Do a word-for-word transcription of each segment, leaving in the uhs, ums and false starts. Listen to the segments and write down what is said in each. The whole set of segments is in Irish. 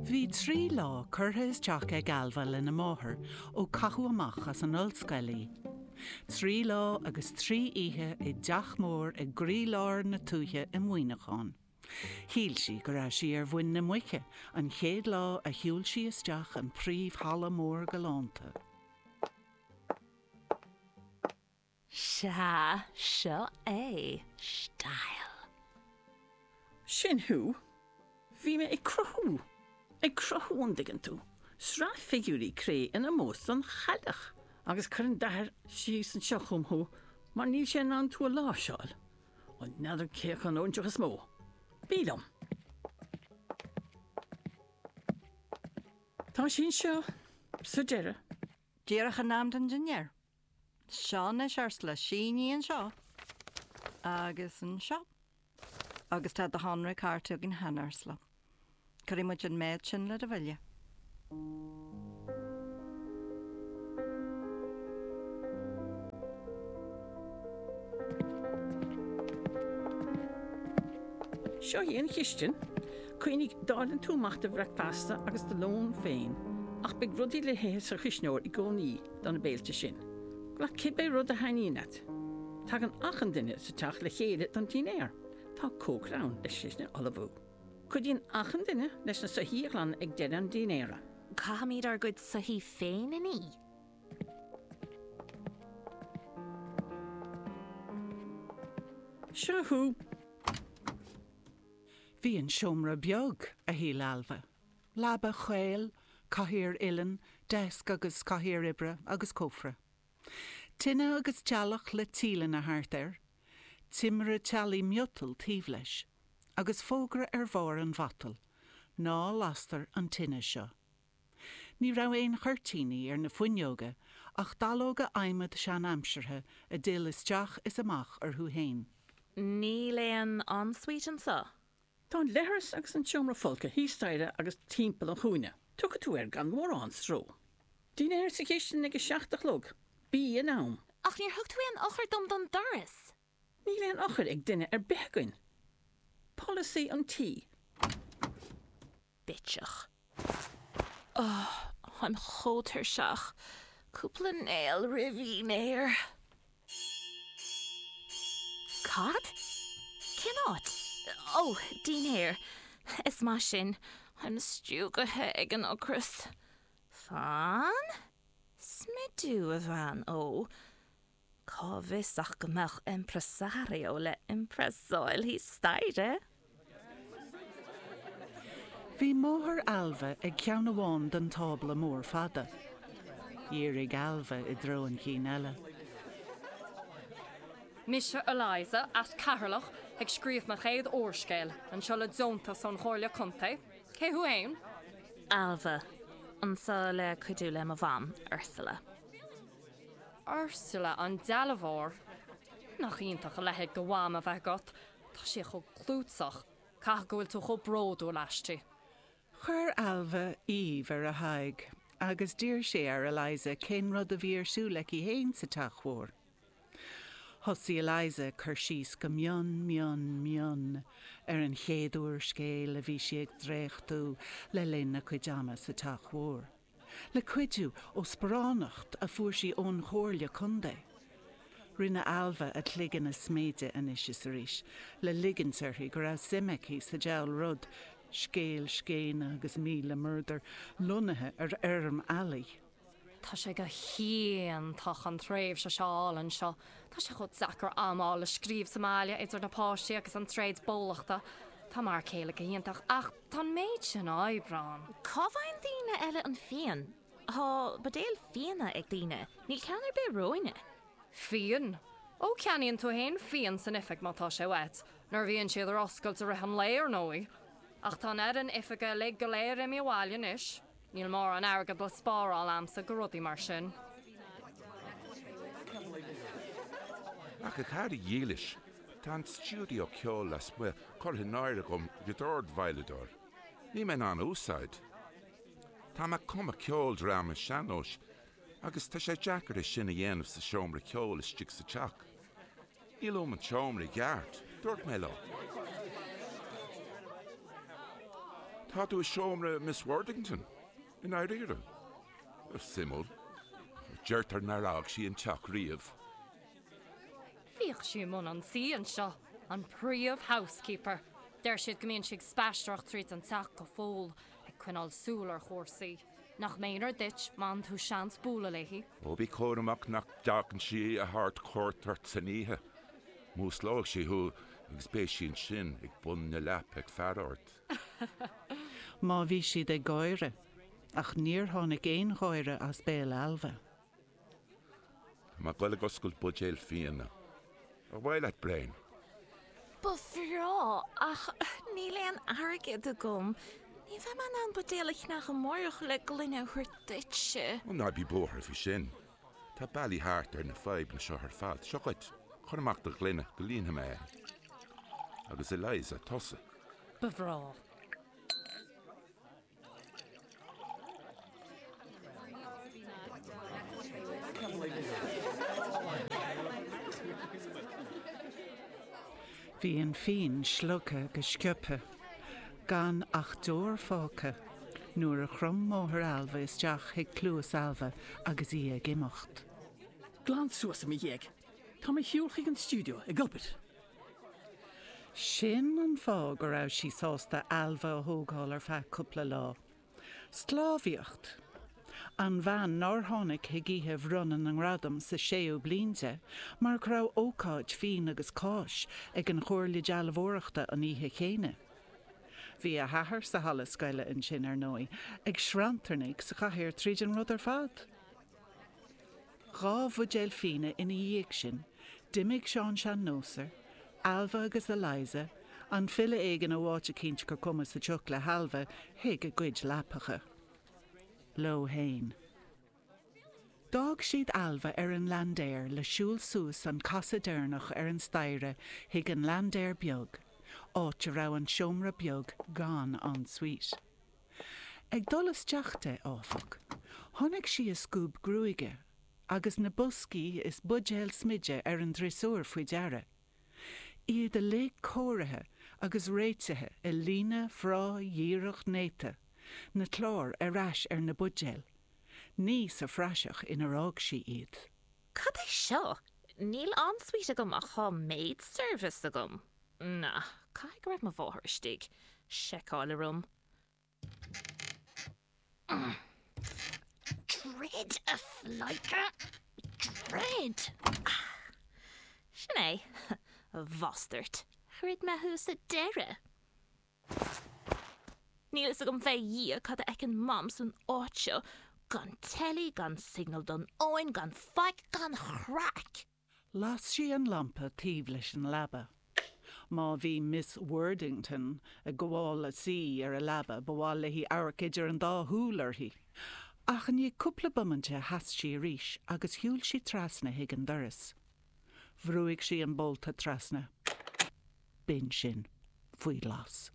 Bhí trí lá curtha isteach ag Ailbhe lena máthair ó caitheadh amach as an ollscoil í. Trí lá agus trí oíche i dteach mór i gcroílár na tuaithe i Muineachán. Shíl sí go raibh sí ar mhuin na muice an chéad lá a shiúil sí isteach an príomhhalla mór galánta. Sea, seo é. Style. Sin thú. Bhí mé ag cruthú. Ag cruthú an dtuigeann tú. Sraith figiúirí cré in ómós don chailleach. Agus cuireann d'athair síos anseo chugam thú mar níl sé in ann tú a láimhseáil. Bhuel, n'fheadar cé acu an óinseach is mó. Bí liom. Tá sí anseo sa deireadh. Díreach in am don dinnéar. Seo anois Ursula, sínigh anseo. Agus anseo. Agus tá do shonraí cairte againn cheana, Ursula. Cuirfidh muid an méid sin le do bhille. Seo í an chistin. Cuimhnigh, dáileann tú amach do bhricfeasta agus do lón féin, ach beidh rudaí le hithe sa chuisneoir i gcónaí do na béilte sin. Glac cibé rud a thaitníonn leat. Tagann achan duine sa teach le chéile don dinnéar. Tá cócaire ann leis sin a ullmhú. Cuidíonn achan duine leis na soithí a ghlanadh ag deireadh an dinnéara. Caithfimid ár gcuid soithí féin a ní? Seo thú! Bhí an seomra beag, a shíl Ailbhe. Leaba chaol, cathaoir uilleann, deasc agus cathaoir oibre agus cófra. Tine agus teallach le tíleanna thart air. Timire teallaigh miotail taobh leis. Agus fógra ar bharr an mhatail, Ná lastar an tine seo. Ní raibh aon chuirtíní ar na fuinneoga ach dallóga adhmaid sean-aimseartha a d'fhill isteach is amach orthu fhéin. Níl aon ensuite anseo? Tá an leithreas agus an seomra folctha thíos staighre agus timpeall an chúinne. Tiocfaidh tú air gan mórán stró. Dinnéar sa chistin ag a seacht a chlog. Bí in am. Ach níor thug tú aon eochair dom don doras! Níl aon eochair ag duine ar bith againn. Polasaí an tí. Bitseach. Oh, táim chomh tuirseach. Cúpla néal roimh dhinnéar. Cad? Cén áit? Ó, dinnéar. Is maith sin. Táim stiúgtha ag an ocras. Fan. Smidiú, a bhean ó. Cá bhfios ach go mbeadh impresario le impressáil thíos staighre? Bhí máthair Ailbhe ag ceann amháin den tábla mór fada. Dhírigh Ailbhe i dtreo an chinn eile. Mise Eliza, as Ceatharlach, ag scríobh mo chéad úrscéil, anseo le deontas ón Chomhairle Contae. Cé thú fhéin? Ailbhe, anseo le cuidiú le mo mham, Ursula. Ursula an dealbhóir? Nach iontach a leithéid de mham a bheith agat, tá sí chomh clúiteach, caithfidh go bhfuil tú chomh bródúil aisti. Chuir Ailbhe aoibh ar a haghaidh agus d'iarr sé ar Eliza cén rud a bhí ar siúl aici fhéin sa teach mhór. Thosaigh Eliza ag cur síos go mion mion mion ar an chéad úrscéal a bhí sí ag dréachtú le linn a cuid ama sa teach mhór. Le cuidiú ó sparánacht a fuair sí ón Chomhairle Contae. Rinne Ailbhe a cloigeann a sméideadh anois is arís le ligint uirthi go raibh suim aici sa diabhal rud, scéal scéine agus míle murdar lonnaithe ar fheirm eallaigh. Tá sé go hiontach an tréimhse seo a fháil anseo. Tá sé chomh deacair am a fháil le scríobh sa mbaile idir na páistí agus an tréad bólachta. Tá m'fhear céile go hiontach ach tá an méid sin oibre ann. Cá bhfaigheann daoine eile an fíon? Tá buidéil fíona ag daoine, níl ceann ar bith romhainne. Fíon? Ó ceannaíonn tú fhéin fíon san oifig má tá sé uait, nuair a bhíonn siad ar oscailt i rith an lae ar ndóigh. Ach tá an fhoireann oifige uilig go léir imithe abhaile anois. Níl mórán airgead le spáráil a'msa go rudaí mar sin. Ach a chara dhílis, tá an stiúideo ceoil lasmuigh curtha in áirithe agam do dhordveidhleadóir. Níl mé in ann a úsáid. Tá mé ag cumadh ceoldráma sean-nóis agus tá sé deacair é sin a dhéanamh sa seomra ceoil istigh sa teach. Níl uaim an seomra i gceart, dúirt mé leo. Tá tú i seomra Miss Worthington, i ndáiríre. Suimiúil. Deirtear nár fhág sí an teach riamh. Bhíodh sí i mbun an tí anseo, an príomh-housekeeper. Deir siad go mbíonn sí ag spaisteoireacht tríd an teach go fóill, ag coinneáil súil ar chúrsaí. Nach méanar duit má fhaigheann tú seans bualadh léi. Ó bí cúramach nach dtagann sí a thabhairt cuairt ort san oíche. Músclóidh sí thú agus beidh sí ansin ag bun na leapa ag faire ort. Má bhí siad ag gáire, ach níor tháinig aon gháire as béal Ailbhe. Tá mé ag goil ag oscailt buidéal fíona. Ar mhaith leat braon? Ba bhreá, ach níl aon airgead agam. Ní bheidh mé in ann buidéal a cheannach amárach le gloine a thabhairt duitse. Ó ná bí buartha faoi sin. Tá bealaí thart ar na fadhbanna seo ar fad. Seo dhuit, cuir amach do ghloine go líonfaidh mé é. Agus Eliza, tusa. Ba bhreá. Bhí an fíon slogtha go sciobtha, gan ach deoir fágtha, nuair a chrom máthair Ailbhe isteach chuig cluas Ailbhe agus í ag imeacht. Glan suas i mo dhiaidh. Tá mé ar shiúl chuig an stiúideo ag obair. Sin an fáth go raibh sí sásta Ailbhe a thógáil ar feadh cúpla lá. Sclábhaíocht! An bhean nár tháinig chuig oíche bhronnadh na ngradam sa séú bliain de mar go raibh ócáid fíon agus cáis ag an Chomhairle Dealbhóireachta an oíche chéanna. Bhí a hathair sa halla scoile ansin, ar ndóigh, ag sranntarnaigh sa chathaoir tríd an rud ar fad. Dhá bhuidéal fíona ina dhiaidh sin, d'imigh Seán Sean-Nóser, Ailbhe agus Eliza, an file éigin ó áit eicínt gur cuma sa tsioc le hAilbhe, chuig a gcuid leapacha. Leo fhéin. D'fhág siad Ailbhe ar an laindéar le siúl suas an casadh deireanach ar an staighre chuig an laindéar beag, áit a raibh an seomra beag gan ensuite. Ag dul isteach di, áfach, chonaic sí a scuab gruaige agus na boscaí is buidéil smididh ar an driosúr faoi deara, iad uilig cóirithe agus réitithe i líne bhreá dhíreach néata, na cláir ar ais ar na buidéil, ní sa phraiseach inar fhág sí iad. Cad é seo? Níl ensuite agam ach tá maid service agam. Na, caithfidh go raibh mo mháthair istigh. Seiceáil a room. Druid, a phleidhce! Druid! Sin é, a bhastairt. Dhruid mé thú sa deireadh. Níl fhios agam fé Dhia cad a fheiceann Mam san áit seo, gan teilí, gan signal don fhón, gan faic, gan chraic! Las sí an lampa taobh leis an leaba. Má bhí Miss Worthington ag gabháil a suí ar a leaba ba mhaith léi amharc idir an dá shúil uirthi. Ach i ndiaidh cúpla bomainte sheas sí arís agus shiúil sí trasna chuig an doras. Bhrúigh sí an bolta trasna. B'in sin. Faoi ghlas.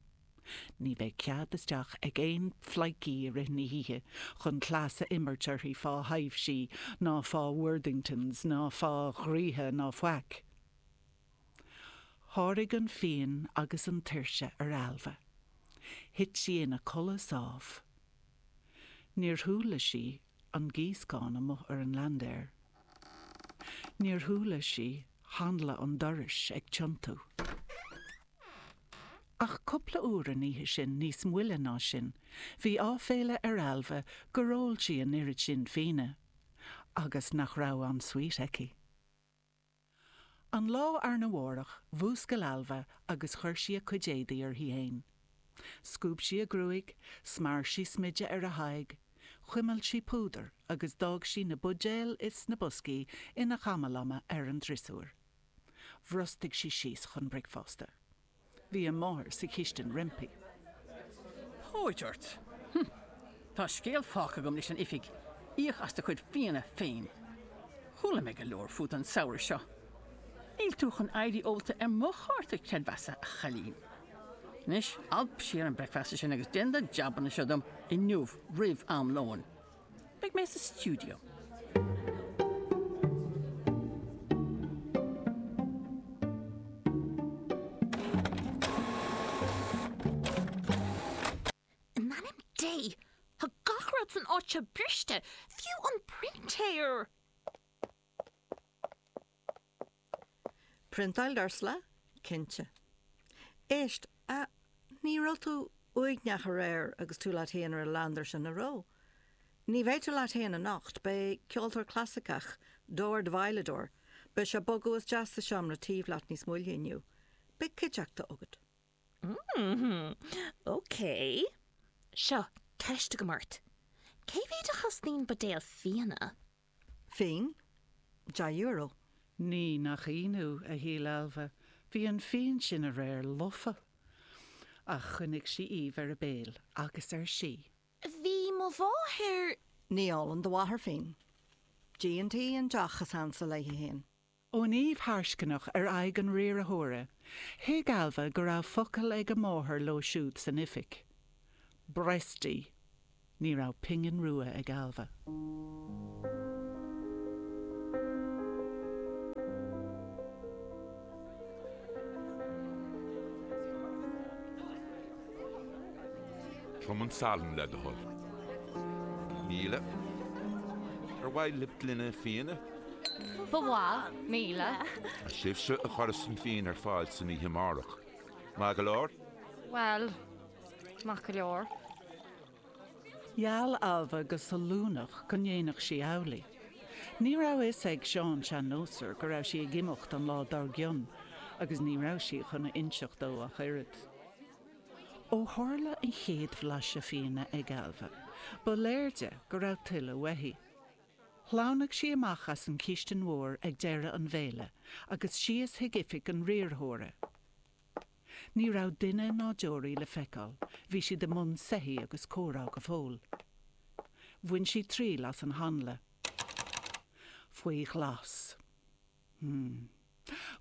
Ní bheidh cead isteach ag aon phleidhcí i rith na hoíche chun cleas a imirt uirthi fá thaibhsí ná fá Worthingtons ná fá dhraoithe ná faic. Sháraigh an fíon agus an tuirse ar Ailbhe. Thit sí ina codladh sámh. Níor chuala sí an gíoscán amuigh ar an laindéar. Níor chuala sí hanla an dorais ag tiontú. Ach cúpla uair an oíche sin, níos moille ná sin, bhí áiféala ar Ailbhe gur ól sí an oiread sin fíona, agus nach raibh ensuite aici. An lá arna mhárach, mhúscail Ailbhe agus chuir sí a cuid éadaí uirthi fhéin. Scuab sí a gruaig, smear sí smideadh ar a haghaidh, chuimil sí púdar agus d'fhág sí na buidéil is na boscaí ina chamalama ar an driosúr. Bhrostaigh sí síos chun bricfeasta. Bhí a máthair sa chistin roimpi. Póit ort! Hm! Tá scéal fágtha agam leis an oifig, íoc as do chuid fíona féin. Chuala mé go leor fút an samhradh seo. Níl tú chun éirí ólta ar mo chárta creidmheasa, a chailín. Anois, alp siar an bricfeasta sin agus déan do jabanna seo dom inniu roimh am lóin. Beidh mé sa stiúideo. é? Tá gach rud san áit seo briste, fiú an printéir! Priontáil Ursula? Cinnte. Éist, a, ní raibh tú uaigneach aréir agus tú leat féin ar an leander sin an raibh? Ní bheidh tú leat féin anocht, beidh ceoltóir clasaiceach, dord-veidhleadóir, beidh sé ag bogadh isteach sa seomra taobh leat níos moille inniu. Beidh cuideachta agat. Mm, ok. Seo, ceist agam ort. Cé mhéad a chosnaíonn buidéal fíona? Fíon? Deich euro. Ní nach ionadh, a shíl Ailbhe, bhí an fíon sin aréir lofa. Ach choinnigh sí aoibh ar a béal agus ar sí. Bhí mo mháthair. Ní ólann do mháthair fíon. Dí an tí an deoch is ansa léi féin. Ón aoibh tharscainneach ar aghaidh an riarthóra, thuig Ailbhe go raibh focal ag a máthair leo siúd san oifig. Bresty. Ní raibh pingin rua ag Ailbhe. Trom an salann le do thoil. Míle. Ar mhaith libh gloine fíona? Ba mhaith, míle. Sibhse a chuirfeas an fíon ar fáil san oíche amárach. Maith go leor? Bhuel, maith go leor. Gheall Ailbhe go sollúnach go ndéanfadh sí amhlaidh. Ní raibh a fhios ag Seán Sean-Nósar go raibh sí ag imeacht an lá dár gcionn agus ní raibh sí chun a inseacht dó ach oiread. Ó tharla an chéad bhlaiseadh fíona ag Ailbhe, ba léir di go raibh tuilleadh uaithi. Shleamhnaigh sí amach as an chistin mhór ag deireadh an bhéile agus síos chuig oifig an riarthóra. Ní raibh duine ná deoraí le feiceáil, bhí siad i mbun soithí agus comhrá go fóill. Bhain sí triail as an hanla. Faoi ghlas. Hmm.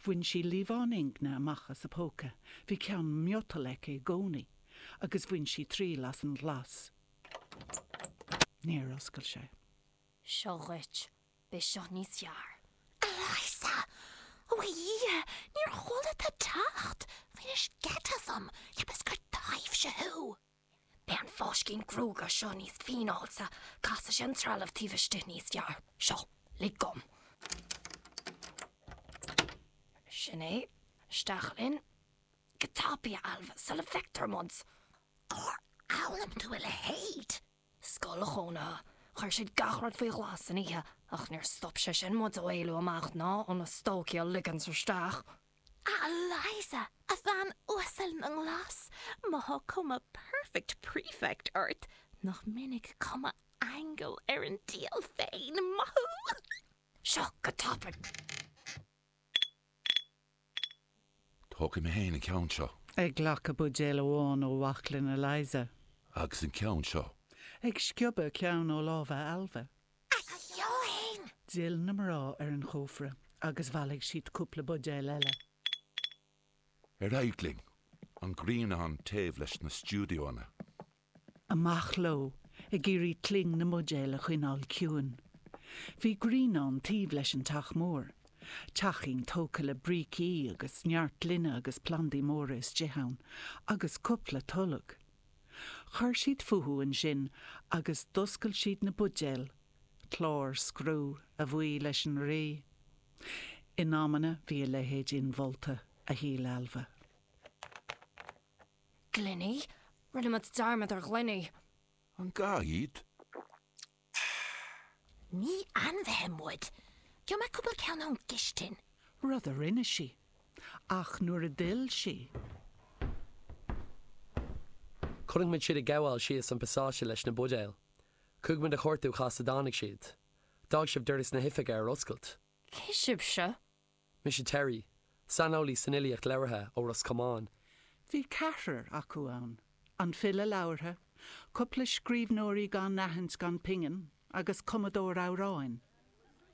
Bhain sí liamhán ingne amach as a póca, bhí ceann miotail aici i gcónaí, agus bhain sí triail as an ghlas. Níor oscail sé. Seo dhuit, beidh seo níos fearr. Eliza! Ó a Dhia, níor chuala tú teacht! Bhainis geit asam, cheapas gur taibhse thú! Beidh an fáiscín gruaige seo níos fíneáilte, casfaidh sé an trealamh taobh istigh níos fearr. Seo, lig dom. Sin é, isteach linn. Go tapaidh, a Ailbhe, sula bhfeictear muid! Cár fhoghlaim tú a leithéid? Scoil chónaithe. Chuir siad gach rud faoi ghlas san oíche, ach níor stop sé sin muid ó éalú amach ná ó na stócaigh a ligint isteach. A Eliza, a bhean uasal na nglas, má thá cuma perfect prefect ort, nach minic cuma aingil ar an diabhal féin, maith thú! Seo go tapaidh. Tógfaidh mé féin an ceann seo. Ag glacadh buidéal amháin ó bhaclainn Eliza. Agus an ceann seo. Ag sciobadh ceann ó lámha Ailbhe. A Sheáin! D'fhill na mná ar an chófra agus bhailigh siad cúpla buidéal eile. Ar aghaidh linn, an grianán taobh leis na stiúideonna. Amach leo, ag iarraidh cling na mbuidéal a choinneáil ciúin. Bhí grianán taobh leis an teach mór. Teachín tógtha le brící agus neart gloine agus plandaí móra istigh ann, agus cúpla tolg. Chuir siad fúthu ansin agus d'oscail siad na buidéil, clár scriú a bhuí leis an rí. In amanna bhí a leithéid inmholta, a shíl Ailbhe. Gloiní? Rinne muid dearmad ar ghloiní. An gá iad? Ní ainmhithe muid. Gheobhaidh mé cúpla ceann ón gcistin. Rud a rinne sí. Ach nuair a d'fhill sí. Chonaic muid siad ag gabháil síos an pasáiste leis na buidéil. Chuaigh muid a chuartú cá as a dtáinig siad. D'fhág sibh doras na hoifige ar oscailt. Cé sibhse? Mise Terry, saineolaí san fhilíocht labhartha ó Ros Comáin. Bhí ceathrar acu ann, an file labhartha, cúpla scríbhneoirí gan aithint gan pingin agus cumadóir amhráin.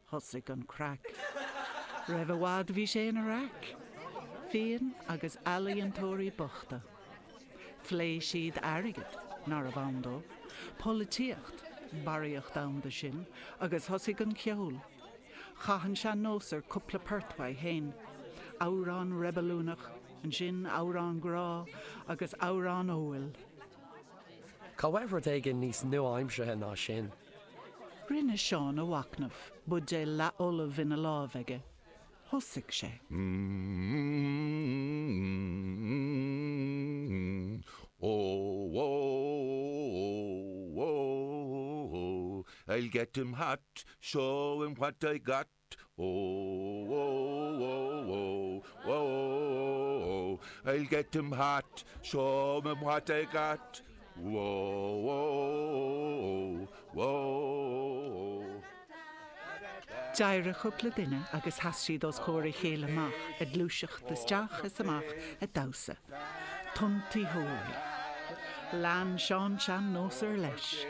Thosaigh an craic. Roimh i bhfad bhí sé ina raic. Fíon agus ealaíontóirí bochta. Phléigh siad airgead, nárbh ann dó, polaitíocht, barraíocht ann de sin, agus thosaigh an ceol. Chaith an sean-nósar cúpla port uaidh féin, amhrán reibiliúnach, ansin amhrán grá agus amhrán óil. Cá bhfuair rud éigin níos nua-aimseartha ná sin. Rinne Seán a mhachnamh, buidéal leathfholamh ina lámh aige. Thosaigh sé. Mm, oh, oh, oh, oh, I'll get him hot, show him what I got. Oh, oh, oh, oh, oh, I'll get him hot, show him what I got. Whoa, whoa, whoa. D'éirigh cúpla duine agus sheas siad os comhair a chéile amach ag gluaiseacht isteach is amach ag damhsa. Tiontaitheoirí. Lean Seán sean-nósar leis.